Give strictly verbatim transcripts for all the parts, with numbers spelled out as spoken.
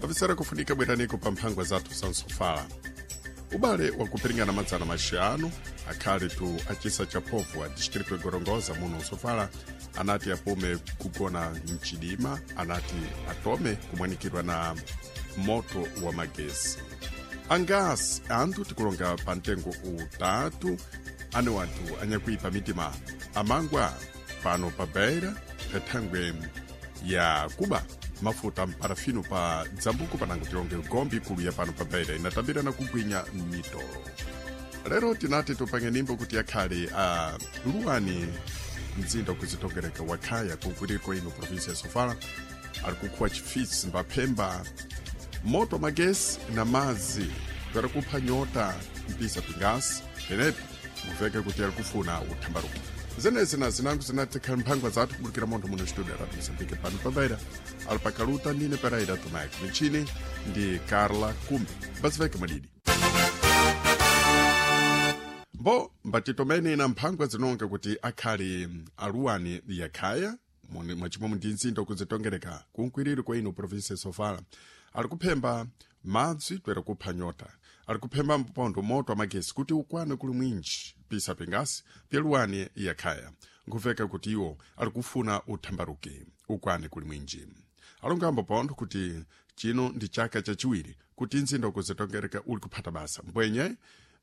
Avisera kufunika bweraniko pa mphangwa zathu za msofala. Ubale wakupiringana madzana maxanu akhale tu acisa cha povu a distrito ya Gorongosa muno msofala anati apume kugona mchidima, anati atome kumwanikidwa na moto wa magesi. Angasi anthu tikulonga pa mtengo utatu ane wanthu anyakuipa mitima amangwa pano pa Beira pathangwe ya kuba mafuta mparafino pa dzambuko panango tilonge gombi ikulu ya pano pa Beira inatambira na kugwinya mitolo. Lero tinati tupange nimbo kuti akhale a luwani mzinda kuzitongereka wakhaya kunkwiriko ino provinsia ya Sofala ali kukhuwa chifisi mbaphemba moto magesi na madzi kwera kupha nyota mpisa pingasi penepi muveke kuti ali kufuna uthambaruki. Zenezi na zinango zinatikhala mphangwa zathu kubulikira montho muno studio ya Radio Mozambique pano pabaira ali pakaluta nine Pereira Tomaico michini ndi Carla Kumbi basiveke madidi mbo mbatitomene na mphangwa zinonga kuti akhali aluwani yakhaya mwachimomwe ndi mzinda kuzitongereka kunkwiriri kwa ino provinsia ya Sofala ali kuphemba madzi twera kupha nyota, ali kuphemba mpondo moto amagesi kuti ukwane kuli mwinji pisa pingasi pyeluwani yakhaya nkuveka kuti iwo ali kufuna uthambaruki ukwane kuli mwinji. Alongambo pontho kuti chino ndi chaka chachiwiri kuti mzinda kuzitongereka uli kuphata basa mbwenye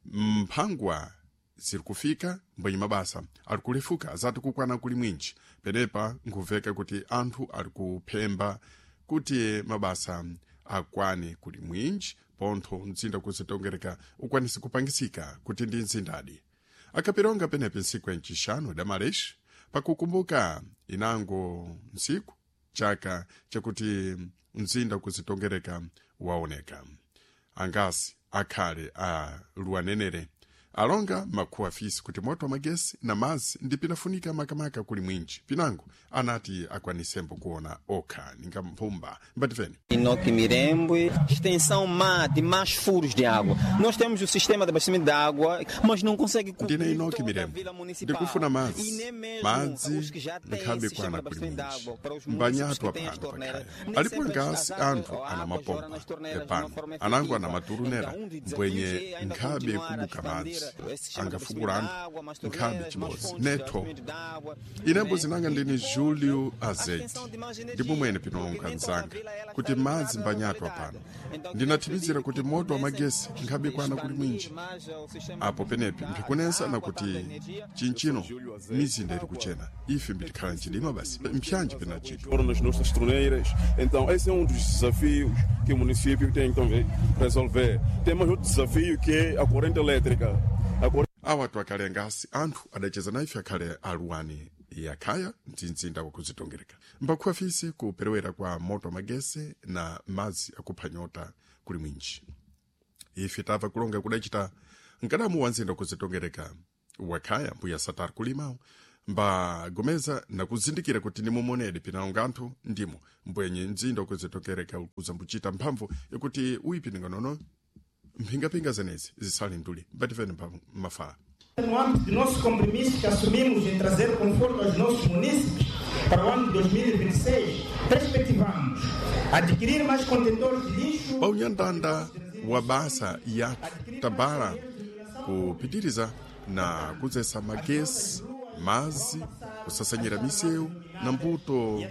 mphangwa ziri kufika mbwenye mabasa ali kulefuka azati kukwana kuli mwinji penepa nkuveka kuti anthu ali kuphemba kuti mabasa akwane kuli mwinji pontho mzinda kuzitongereka ukwanise kupangisika kuti ndi mzindadi. Akapironga penepi ntsiku ya ncixanu damalexi pakukumbuka inango ntsiku chaka chakuti mzinda kuzitongereka waoneka. Angasi akhale a luwanenere alonga makhuwa afisi kuti moto wa magesi na madzi ndi pinafunika makamaka kuli mwinji pinango anati akwanisembo kuona okha ninga mphumba mbatifeni. Inoque Mirembwe, extensão má de mais furos de água. Nós temos o sistema de abastecimento de água, mas não consegue Ndine cobrir Inoki toda a Mirembo vila municipal. ndikufuna E madzi nem mesmo madzi os que já têm nkhabe esse sistema kwana de kuli abastecimento de mwinji água, para os municípios mbanyatu que têm as apano torneiras, pakhaya nem alipo sempre as, ngasi as águas, anthu a ana água jorra mapompa nas torneiras de uma epano forma anango ana efetiva. maturunera Então, um dos mbwenye desafios é ainda nkhabe continuar a kubuka expandir madzi esse sistema de angafukula abastecimento de anthu água, mais nkhabe torneiras, mais chibodzi fontes de netho. abastecimento de água, Inembo né? zinanga E ndini depois Julio a Azeite extensão de mais ndipo energia, mwene porque pinonga nem toda a nzanga vila ela kuti está madzi ligada à mbanyatu localidade. apano Então queremos pedir ndinathirizira que kuti moto wa pudessem magesi nkhabe kwana kuli expandir mwinji mais o sistema apo penepi da mphikunesa água, nakuti tanto a energia. chinchino mizinda iri kuchena ife mbitikhala mchidima basi mpyanji pinachitwa Foram nas nossas torneiras. Então, esse é um dos desafios que o município tem que também resolver. Tem mais outro desafio que é a corrente elétrica. A corrente awa twakale ngasi anthu adacheza na ife akhale aluwani yakhaya mzinda wakuzitongereka mbakhuwa fisi kuperewera kwa moto wa magesi na madzi akupha nyota kuli mwinji. Ife tamva kulonga kudachita mkadamu wa mzinda wakuzitongereka wakhaya mbuya Satar kulimawo mbagomeza nakuzindikira kuti nimumonedi pinalonga anthu ndimo mbwenye mzinda wakuzitongereka uzambuchita mphamvu yakuti uyipininga mphingapinga zenezi zisali nduli mbatifeni mafala. No âmbito do nosso compromisso que assumimos em trazer conforto aos nossos munícipes para o ano de dois mil e vinte e seis, perspectivamos adquirir mais contentores de lixo. Paunyandanda wa basa yathu tabala kupitiriza na kudzesa magesi madzi kusasanyira misewu na mbuto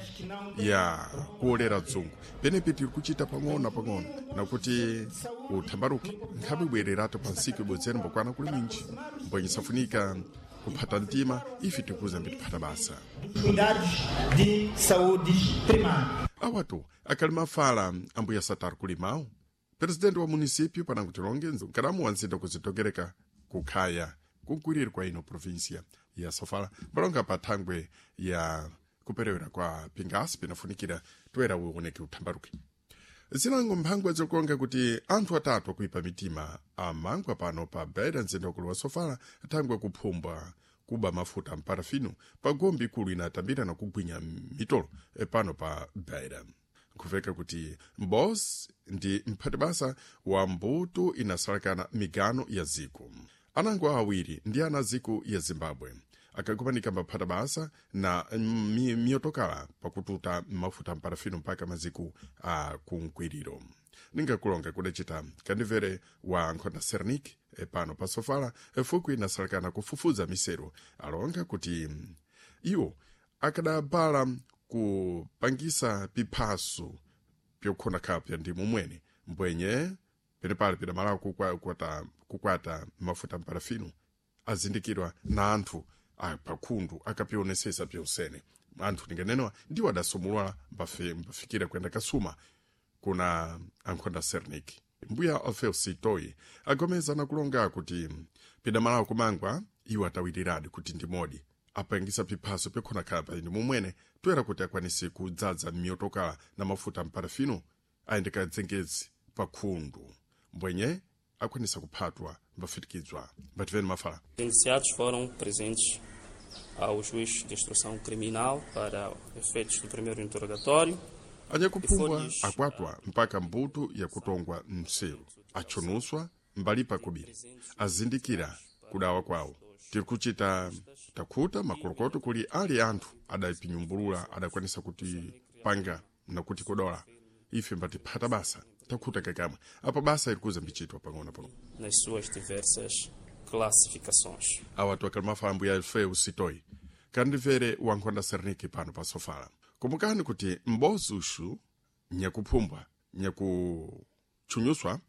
ya kuolera dzungu penepi tiri kuchita pang'ono na pang'ono nakuti uthambaruke nkhabe bwereratu pa ntsiku ibodzera mbokwana kuli mwinji mbwenye safunika kuphata mtima ife tikuza mbitiphata basa Cuidados de saúde primária. Awatu akhali mafala ambuya Satar kulimawo presidente wa munisípio panango tilonge nkadamu wa mzinda kuzitokereka kukhaya kunkwiriri kwa ino província ya Sofala balonga pa thangwe ya kuperewera kwa pingasi pinafunikira toera uoneke uthambaruke. Zinango mphangwa zikuonga kuti anthu atatu akuipa mitima amangwa pano pa Beira mzinda wakulu wa Sofala thangwe kuphumbwa kuba mafuta mparafino pa gombi ikulu inatambira na kugwinya mitolo eh, pano pa Beira. Nkuveka kuti mbos ndi mphatibasa wa mbuto inasalakana migano ya ziko anango awiri ndi ana ziko ya Zimbabwe. akakumanika mbaphata basa na mi- miyotokala pakututa mafuta mparafino mpaka maziko a kunkwiriro. Ningakulonga kudacita kandivere wa nkhonda Sernik e pano pa Sofala fukwi inasalakana kufufuza misero alonga kuti mm, iwo akadabala kupangisa piphaso pyokhona khapya ndi mumwene mbwenye penepali pidamalawo kukwa- kukwata, kukwata mafuta mparafino azindikirwa na anthu apakhundu akapionesesa pyonsene anthu ninganenewa ndiwo adasumulwa mbafe- mbafikira kuyenda kasuma kuna ankhonda Sernik. Mbuya Alfeu Sitoi agomeza nakulonga kuti pidamalawo kumangwa iwo atawiriradi kuti ndi modi apangisa piphaso pyokhona khapa ndi mumwene toera kuti akwanise kudzadza miyotokala na mafuta mparafino ayendeka dzengezi pa khundu mbwenye akwanisa kuphatwa mbafitikidzwa. Mbativeni mafala. Os indiciados foram presentes ao juiz de instrução criminal para efeitos do primeiro interrogatório. Anyakuphungwa akwatwa mpaka mbuto yakutongwa mseru atchonuswa mbali pakubiri azindikira kudawa kwawo. Tiri kuchita takhuta makolokoto kuli ali anthu adapinyumbulula adakwanisa kuti panga nakuti kodola ife mbatiphata basa takhuta kakamwe apo basa iri kuza mbichitwa pang'ono pang'ono Nas suas diversas classificações. Awa twakalimafala mbuya Alfeu Sitoi kandimvere wankhonda Serniki pano pa Sofala. Kumbukani kuti m'bozi uxu nyakuphumbwa nyakutchunyuswa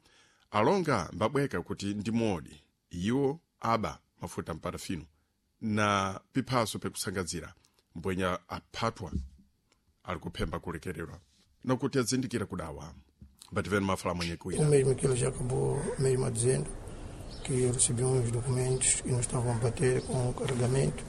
alonga mbabweka kuti ndi modi iwo aba mafuta mparafino na piphaso pekusangadzira mbwenya aphatwa ali kuphemba kulekererwa nakuti azindikira kudawa. Mbativeni mafala mwenye O kuira. mesmo que ele já acabou mesmo a dizendo que eu recebi uns documentos que não estavam a bater com o carregamento.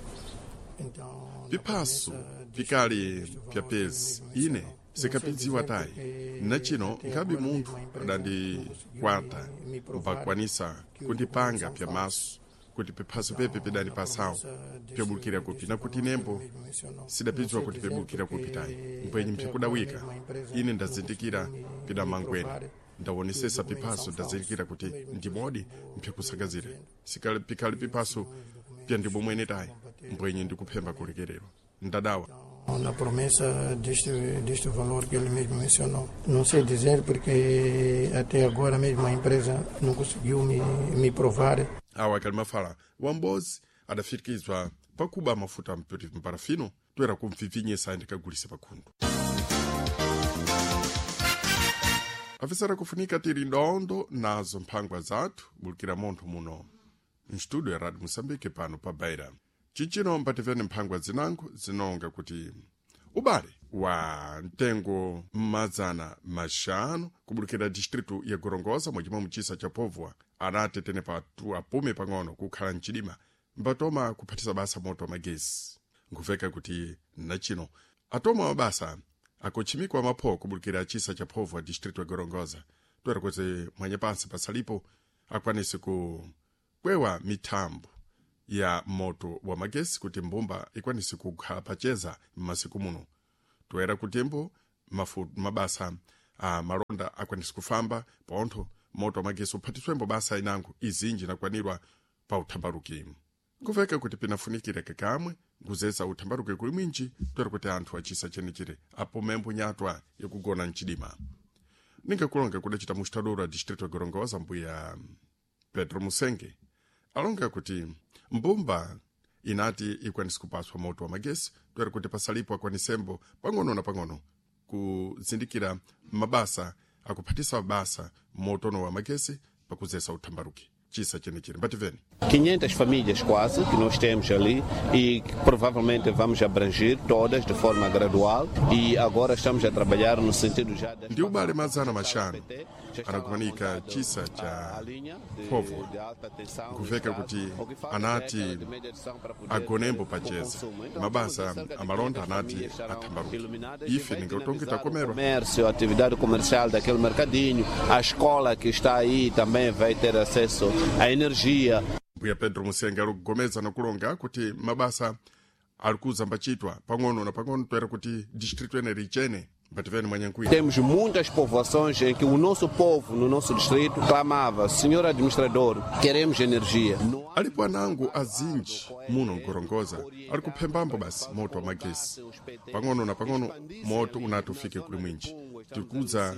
Então, na Piphaso promessa deste- pikali deste valor pya que pezi ele mesmo ine mencionou. Não sei sikapidziwa dizer tayi porque na chino até nkhabe agora munthu mesmo a empresa não conseguiu adandikwata me, me provar mbakwanisa que os kundipanga documentos são pya falsos. maso kuti piphaso pepe Então, pidani na pasawo promessa deste, pyobulukira kupi deste nakuti valor que ele nembo mesmo mencionou. Não sidapidziwa sei kuti dizer pyobulukira kupi tayi porque mpwenye até agora mpyakudawika mesmo a empresa ine não ndazindikira conseguiu me, me pidamangwene provar que os ndawonesesa documentos piphaso são falsos. ndazindikira kuti O mesmo que ndi ele modi acabou mesmo mpyakusangazira dizendo sikali pikali que eu piphaso recebi uns documentos pya que ndibomwene não tayi estavam a bater mbwenye com o ndikuphemba carregamento. kulekererwa ndadawa. Então, na promessa deste, deste valor que ele mesmo mencionou. Não sei dizer porque até agora mesmo a empresa não conseguiu me, me provar Awa akali mafala wambozi adafitikizwa pakuba mafuta mpiri mparafino toera kumvivinyesa ayendekagulisa pakhundu. Afisara kufunika tiri ndondo nazo mphangwa zathu bulukira montho muno mstudio ya Radio Moçambique pano pa Beira. Chichino mpativeni mphangwa zinango zinonga kuti ubale wa mtengo mazana maxanu kubulukira distritu ya Gorongosa mwachimwe muchisa cha Povwa anati tene patu apume pang'ono kukhala mchidima mbatoma kuphatisa basa moto wa magesi. Nkuveka kuti nachino atoma mabasa akuchimikwa mapho kubulukira chisa cha Povwa distritu ya Gorongosa toera kuti mwanye pansi pasalipo akwanise ku kwewa mithambo ya moto wa magesi kuti mbumba ikwanise kukhala pacheza m'masiku muno toera kutembo mafu, mabasa a malonda akwanise kufamba pontho moto wa magesi uphatiswembo basa inango izinji nakwanirwa pa uthambaruki. Nkuveka kuti pinafunikira kakamwe nkuzesa uthambaruki kuli mwinji toera kuti anthu achisa chenechire apomembo nyatwa yakugona mchidima. Ningakulonga kudacita mustadoro a distrito ya Gorongosa mbuya Pedro Musenge alonga kuti mbumba inati ikwanise kupaswa moto wa magesi toera kuti pasalipo akwanisembo pang'ono na pang'ono kuzindikira mabasa akuphatisa basa motono wa magesi pakuzesa uthambaruki chisa chenechire. Mbativeni. quinhentas famílias quase que nós temos ali e que provavelmente vamos abranger todas de forma gradual e agora estamos a trabalhar no sentido já das Ndi ubale mazana maxanu anakumanika chisa cha Povwa nkuveka kuti anati agonembo pacheza mabasa amalonda anati athambaruki ife ningatonge takomerwa. Comércio, a atividade comercial daquele mercadinho, a escola que está aí também vai ter acesso à energia. Mbuya Pedro Musenga ali kugomeza nakulonga kuti mabasa ali kuzambachitwa pang'ono na pang'ono toera kuti distritu ene richene. Mbativeni mwanyankwira. Temos muitas povoações em que o nosso povo, no nosso distrito, clamava: Senhor administrador, queremos energia. Alipo anango azinji muno nkorongoza ali kuphembambo basi moto wa magesi pang'ono na pang'ono moto unati ufike kuli mwinji tikudza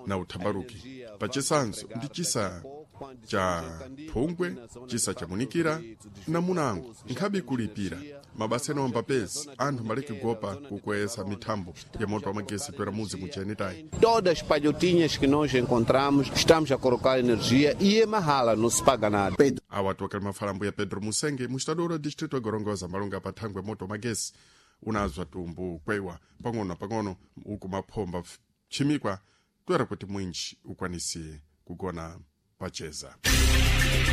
na uthambaruki pachisanzo ndi chisa cha phungwe, chisa cha munikira na munango nkhabe kulipira mabasa ena wambapezi anthu maleke kugopa kukweza mithambo ya moto wa magesi twera mudzi muchenetayi. Todas as palhotinhas que nós encontramos, estamos a colocar energia e é mahala, não se paga nada. Awa tuwakali mafalambo ya Pedro Musenge, mustadora wa distrito ya Gorongosa, malunga pathangwe moto wa magesi unazwa tumbu kwewa pang'ono na pang'ono uku maphomba chimikwa twera kuti mwinji ukwanise kugona pacheza.